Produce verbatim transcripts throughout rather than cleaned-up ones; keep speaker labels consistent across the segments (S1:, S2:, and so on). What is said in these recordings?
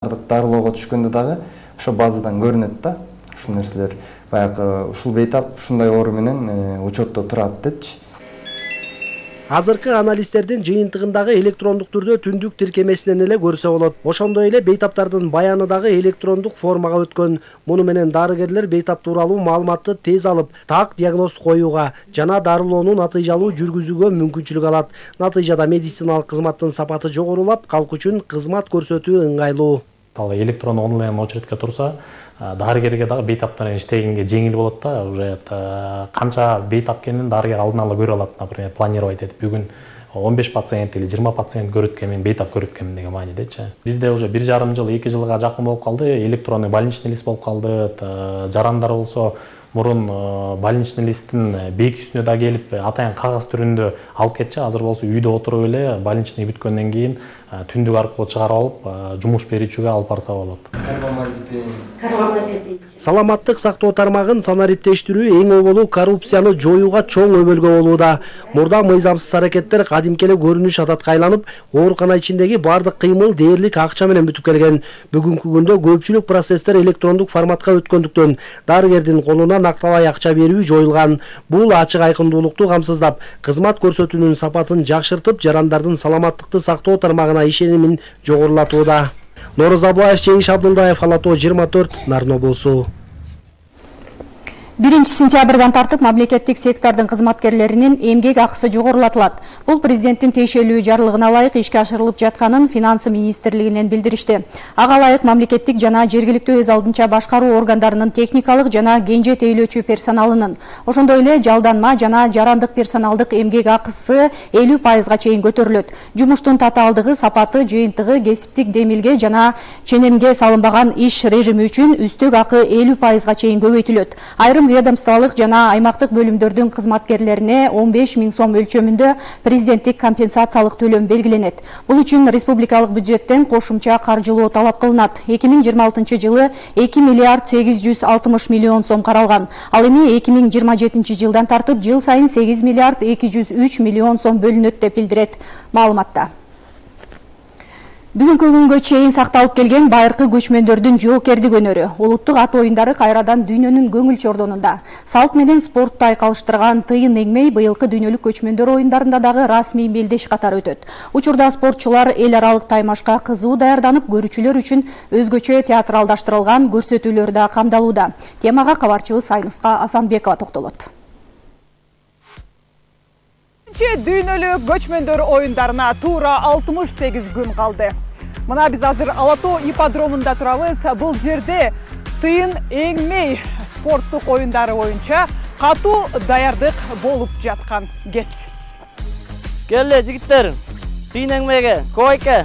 S1: Дарылоого түшкөндө дагы ошо базадан көрүнөт да. Ушул нерселер баягы ушул бейтап ушундай оору менен учетто турат депчи.
S2: Азыркы аналитиктердин жыйынтыгындагы электрондук түрдө түндүк тиркемесинен эле көрсө болот. Ошондой эле бейтаптардын баяны дагы электрондук формага өткөн. Муну менен дарыгерлер бейтап тууралуу маалыматты тез алып, так диагноз коюуга жана дарылоону натыйжалуу жүргүзүүгө мүмкүнчүлүк алат. Натыйжада медициналык кызматтын сапаты жогорулап, калк үчүн кызмат көрсөтүү ыңгайлуу.
S3: Ал электрон онлайн очередке турса, дарыгерге дагы бейтап менен иштегенге жеңил болот да. Уже канча бейтап экенин дарыгер алдын ала көрө алат, например, планировать этип бүгүн он беш пациент или жыйырма пациент көрөт экен, мен бейтап көрөт экенмин деген маанидечи. Бизде уже бир жарым жыл, эки жылга жакын болуп калды, электронный больничный лист болуп калды. Жарандар болсо мурун больничный листтин бейки үстүнө да келип, атайын кагаз түрүндө алып кетчи. Азыр болсо үйдө отуруп эле больничный бүткөндөн кийин түндүк аркылуу чыгарып алып, жумуш берүүчүгө алып барса болот.
S2: Саламаттык сактоо тармагын санариптештирүү эң оболу коррупцияны жоюуга чоң өбөлгө болууда. Мурда мыйзамсыз аракеттер кадимки эле көрүнүш адатка айланып, оорукана ичиндеги бардык кыймыл дээрлик акча менен бүтүп келген. Бүгүнкү күндө көпчүлүк процесстер электрондук форматка өткөндүктөн дарыгердин колуна накталай акча берүү жоюлган. Бул ачык айкындуулукту камсыздап, кызмат көрсөтүүнүн сапатын жакшыртып, жарандардын саламаттыкты сактоо тармагына ишенимин жогорулатууда. Нооруз Абылаев, Жеңиш Абдылдаев, Алатоо жыйырма төрт, Нарын облусу.
S4: биринчи сентябрдан тартып мамлекеттик сектордун кызматкерлеринин эмгек акысы жогорулатылат. Бул президенттин тиешелүү жарлыгына ылайык ишке ашырылып жатканын финансы министрлигинен билдиришти. Ага ылайык мамлекеттик жана жергиликтүү өз алдынча башкаруу органдарынын техникалык жана кенже тейлөөчү персоналынын, ошондой эле жалданма жана жарандык персоналдык эмгек акысы элүү пайызга чейин көтөрүлөт. Жумуштун татаалдыгы, сапаты, жыйынтыгы, кесиптик демилге жана ченемге салынбаган иш режими үчүн үстөк акы элүү пайызга чейин көбөйтүлөт. Айрым ведомстволук жана аймактык бөлүмдөрдүн кызматкерлерине он беш миң сом өлчөмүндө президенттик компенсациялык төлөм белгиленет. Бул үчүн республикалык бюджеттен кошумча каржылоо талап кылынат. эки миң жыйырма алтынчы жылы эки миллиард сегиз жүз алтымыш миллион сом каралган. Ал эми эки миң жыйырма жетинчи жылдан тартып жыл сайын сегиз миллиард эки жүз үч миллион сом бөлүнөт деп билдирет маалыматта. Бүгүнкү күнгө чейин сакталып келген байыркы көчмөндөрдүн жоокердик өнөрү, улуттук ат оюндары кайрадан дүйнөнүн көңүл чордонунда. Салт менен спортду айкалыштырган тыйын эңмей быйылкы дүйнөлүк көчмөндөр оюндарында дагы расмий мелдеш катары өтөт. Учурда спортчулар эл аралык таймашка кызуу даярданып, көрүүчүлөр үчүн өзгөчө театралдаштырылган көрсөтүүлөр да камдалууда. Темага кабарчыбыз Айнуска Асанбекова токтолот.
S5: Дүйнөлүк көчмөндөр оюндарына туура алтымыш сегиз күн калды. Мына биз азыр Алатоо ипподромунда турабыз. Бул жерде тыйын эңмей спорттук оюндары боюнча катуу даярдык болуп жаткан кез.
S6: Келе жигиттер, тыйын эңмейге, койке.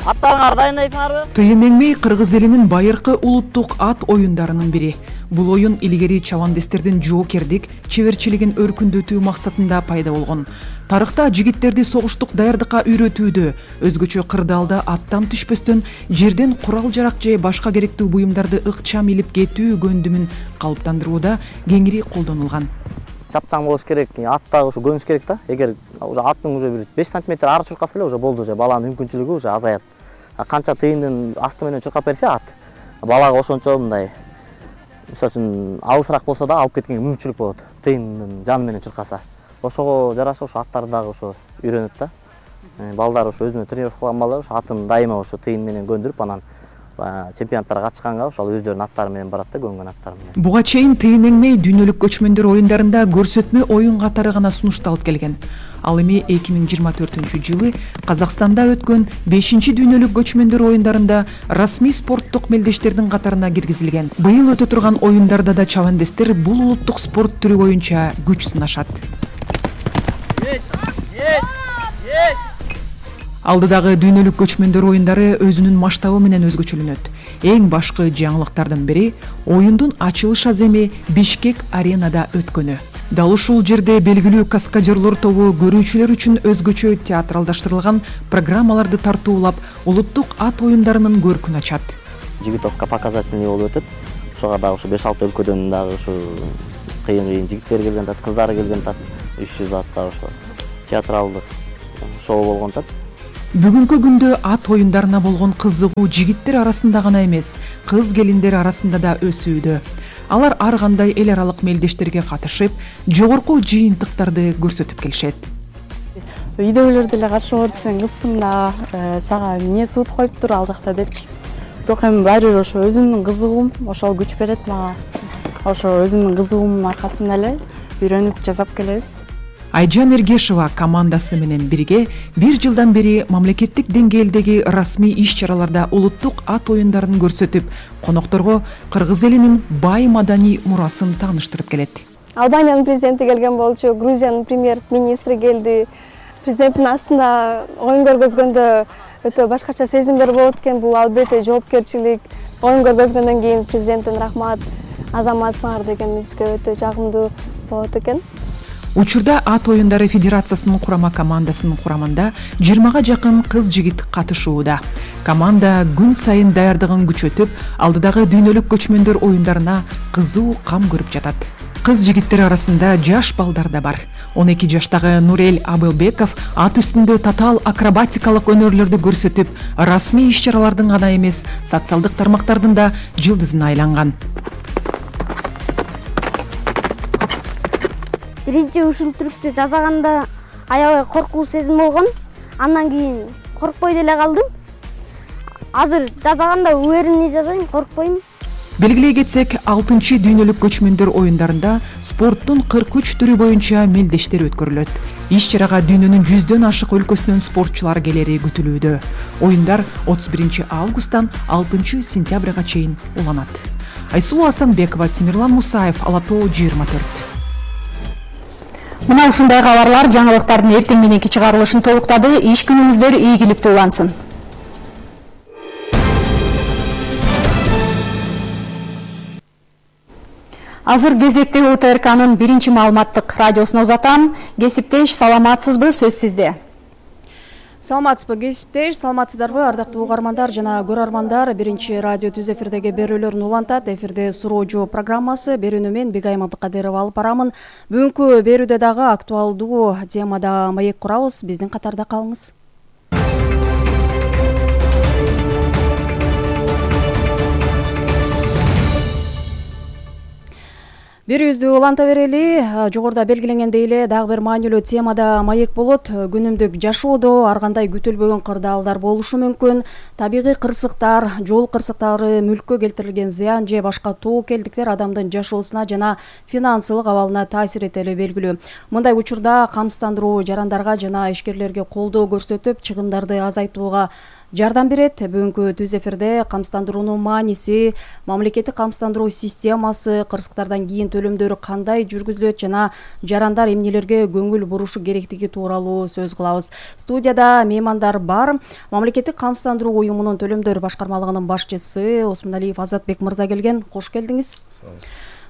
S6: Аттарыңарды дайындайсыңарбы?
S7: Тыйын эңмей кыргыз элинин байыркы улуттук ат оюндарынын бири. Бул оюн илгери чабандестердин жоокердик, чеберчилигин өркүндөтүү максатында пайда болгон. Тарыхта жигиттерди согуштук даярдыкка үйрөтүүдө, өзгөчө кырдаалда аттан түшпөстөн жерден курал-жарак же башка керектүү буюмдарды ыкчам илип кетүү көндүмүн калыптандырууда кеңири колдонулган.
S6: Чапчаң болуш керек, аттагы ушу көнүш керек да. Эгер уже аттың уже бир беш сантиметр ары чуркаса эле уже болду, уже баланын мүмкүнчүлүгү уже азаят. Канча тыйындын асты менен чуркап берсе ат, балага ошончо мындай мисалы үчүн алысыраак болсо да алып кеткенге мүмкүнчүлүк болот. Тыйындын жаны менен чуркаса. Ошого жараша ошо аттарды дагы ошо үйрөнөт да. Балдар ошо өзүнө тренировка кылган балдар ошо атын дайыма ошо тыйын менен көндүрүп, анан чемпионаттарга катышканга ошол өздөрүнүн аттары менен барат да, көнгөн аттары менен.
S7: Буга чейин тыйын эңмей дүйнөлүк көчмөндөр оюндарында көрсөтмө оюн катары гана сунушталып келген. Ал эми эки миң жыйырма төртүнчү жылы Казакстанда өткөн бешинчи дүйнөлүк көчмөндөр оюндарында расмий спорттук мелдештердин катарына киргизилген. Быйыл өтө турган оюндарда да чабандестер бул улуттук спорт түрү боюнча күч сынашат. Алдыдагы дүйнөлүк көчмөндөр оюндары өзүнүн масштабы менен өзгөчөлөнөт. Эң башкы жаңылыктардын бири оюндун ачылыш аземи Бишкек аренада өткөнү. Дал ушул жерде белгилүү каскадерлор тобу көрүүчүлөр үчүн өзгөчө театралдаштырылган программаларды тартуулап, улуттук ат оюндарынын көркүн ачат.
S6: Жигитовка показательный болуп өтөт. Ошого дагы ушу беш алты өлкөдөн дагы ушу кыйын-кыйын жигиттер келген тат, кыздары келген тат. үч жүз атта ошо театралдык шоу болгон тат.
S7: Бүгүнкү күндө ат оюндарына болгон кызыгуу жигиттер арасында гана эмес, кыз келиндер арасында да өсүүдө. Алар ар кандай эл аралык мелдештерге катышып, жогорку жыйынтыктарды көрсөтүп келишет.
S8: Үйдөгүлөр деле каршы болот, сен кызсың да, сага эмне суут коюптур ал жакта депчи. Бирок эми баары бир ошо өзүмдүн кызыгуум, ошол күч берет мага. Ошо өзүмдүн кызыгуумдун аркасында эле үйрөнүп жасап келебиз.
S7: Айжан Эргешова командасы менен бирге бир жылдан бери мамлекеттик деңгээлдеги расмий иш-чараларда улуттук ат оюндарын көрсөтүп, конокторго кыргыз элинин бай маданий мурасын тааныштырып келет.
S9: Албаниянын президенти келген болчу, Грузиянын премьер-министри келди. Президенттин астында оюн көргөзгөндө өтө башкача сезимдер болот экен. Бул албетте жоопкерчилик. Оюн көргөзгөндөн кийин президенттин рахмат, азаматсыңар деген бизге өтө жагымдуу болот экен.
S7: Учурда ат оюндары федерациясынын курама командасынын курамында жыйырмага жакын кыз-жигит катышууда. Команда күн сайын даярдыгын күчөтүп, алдыдагы дүйнөлүк көчмөндөр оюндарына кызуу кам көрүп жатат. Кыз-жигиттер арасында жаш балдар да бар. он эки жаштагы Нурел Абылбеков ат үстүндө татаал акробатикалык өнөрлөрдү көрсөтүп, расмий иш-чаралардын гана эмес, социалдык тармактардын да жылдызына айланган.
S9: Биринчи ушул түрктү жасаганда аябай коркуу сезим болгон. Андан кийин коркпой деле калдым. Азыр жасаганда уверенный жасайм, коркпойм.
S7: Белгилей кетсек, алтынчы дүйнөлүк көчмөндөр оюндарында спорттун кырк үч түрү боюнча мелдештер өткөрүлөт. Иш-чарага дүйнөнүн жүздөн ашык өлкөсүнөн спортчулар келери күтүлүүдө. Оюндар отуз биринчи августтан алтынчы сентябрга чейин уланат. Айсулуу Асанбекова, Тимирлан Мусаев, Ала Тоо жыйырма төрт.
S4: Мына ушундай кабарлар жаңылыктардын эртең мененки чыгарылышын толуктады. Иш күнүңүздөр ийгиликтүү улансын. Азыр кезекте У Т Р К'нын биринчи маалыматтык радиосуна узатам. Кесиптеш, саламатсызбы, сөз сизде.
S10: Саламатсызбы, кесиптеш, саламатсыздарбы, ардактуу угармандар жана көрөрмандар. Биринчи радио түз эфирдеги берүүлөрүн улантат. Эфирде суроо жоо программасы, берүүнү мен Бегайым Абдыкадырова алып барамын. Бүгүнкү берүүдө дагы актуалдуу темада маек курабыз. Биздин катарда калыңыз. Берүүбүздү уланта берели. Жогоруда белгиленгендей эле дагы бир маанилүү темада маек болот. Күнүмдүк жашоодо ар кандай күтүлбөгөн кырдаалдар болушу мүмкүн. Табигый кырсыктар, жол кырсыктары, мүлккө келтирилген зыян же башка тобокелдиктер адамдын жашоосуна жана финансылык абалына таасир этели белгилүү. Мындай учурда камсыздандыруу жарандарга жана ишкерлерге колдоо көрсөтүп, чыгымдарды азайтууга жардам берет. Бүгүнкү түз эфирде камсыздандыруунун мааниси, мамлекеттик камсыздандыруу системасы, кырсыктардан кийин төлөмдөрү кандай жүргүзүлөт жана жарандар эмнелерге көңүл бурушу керектиги тууралуу сөз кылабыз. Студияда меймандар бар. Мамлекеттик камсыздандыруу уюмунун төлөмдөр башкармалыгынын башчысы Осмоналиев Азатбек мырза келген. Кош келдиңиз.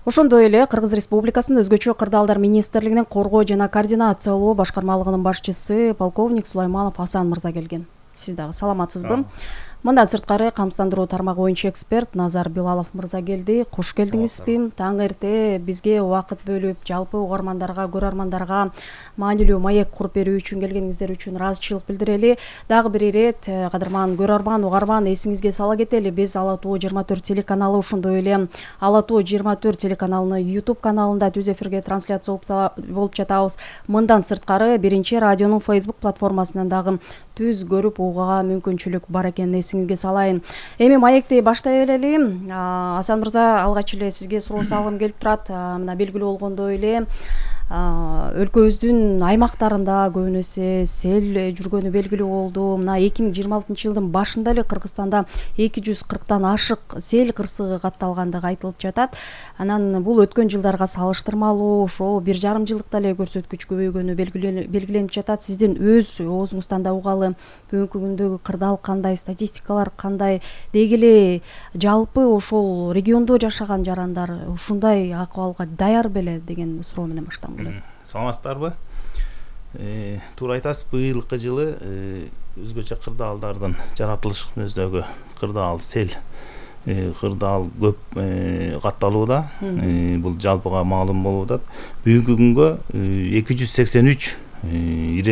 S10: Ошондой эле Кыргыз Республикасынын өзгөчө кырдаалдар министрлигинин коргоо жана координациялоо башкармалыгынын башчысы полковник Сулайманов Асан мырза келген. Сиз дагы саламатсызбы? Мындан сырткары камсыздандыруу тармагы боюнча эксперт Назар Билалов мырза келди. Кош келдиңизби? Таң эрте бизге убакыт бөлүп, жалпы угармандарга, көрөрмандарга маанилүү маек куруп берүү үчүн келгениңиздер үчүн ыраазычылык билдирели. Дагы бир ирет кадырман көрөрман, угарман, эсиңизге сала кетели. Биз Ала Тоо жыйырма төрт телеканалы, ошондой эле Ала Тоо жыйырма төрт телеканалынын YouTube каналында түз эфирге трансляция болуп жатабыз. Мындан сырткары биринчи радионун Facebook платформасынан дагы түз көрүп угууга мүмкүнчүлүк бар экенин эсиңизге салайын. Эми маекти баштай берели. Асан мырза, алгач эле сизге суроо салгым келип турат. Мына белгилүү болгондой эле өлкөбүздүн аймактарында көбүн эсе сел жүргөнү белгилүү болду. Мына эки миң жыйырма алтынчы жылдын башында эле Кыргызстанда эки жүз кырктан ашык сел кырсыгы катталгандыгы айтылып жатат. Анан бул өткөн жылдарга салыштырмалуу ошол бир жарым жылдыкта эле көрсөткүч көбөйгөнү белгиленип жатат. Сиздин өз оозуңуздан да угалы, бүгүнкү күндөгү кырдаал кандай, статистикалар кандай, деги эле жалпы ошол региондо жашаган жарандар ушундай акыбалга даяр беле деген суроо менен баштагым келет.
S11: Саламатсыздарбы? Туура айтасыз, быйылкы жылы өзгөчө кырдаалдардын жаратылышыбыздагы кырдаал сел кырдаал көп катталууда. Бул жалпыга маалым болуп атат. Бүгүнкү күнгө эки жүз сексен үч